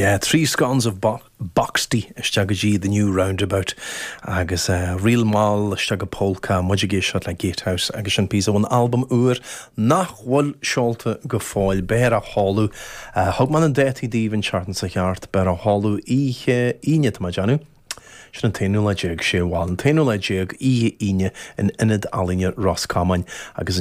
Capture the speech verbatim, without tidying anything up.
Yeah, three scones of bo boxty isteach go dtí the new roundabout agus uh, ríl mall isteach go polka muid ag éisteacht le Gatehouse agus sin píosa ón albam úr nach bhfuil seolta go fóill beidh á sheoladh uh, thug mé na dátaí daoibh an tseachtain seo thart beidh á sheoladh oíche Aoine tá mé ag déanamh. Sin an t-aonú lá déag sé bhal an t-aonú lá déag oíche Aoine in Ionad Ealaíne Ros Comáin agus an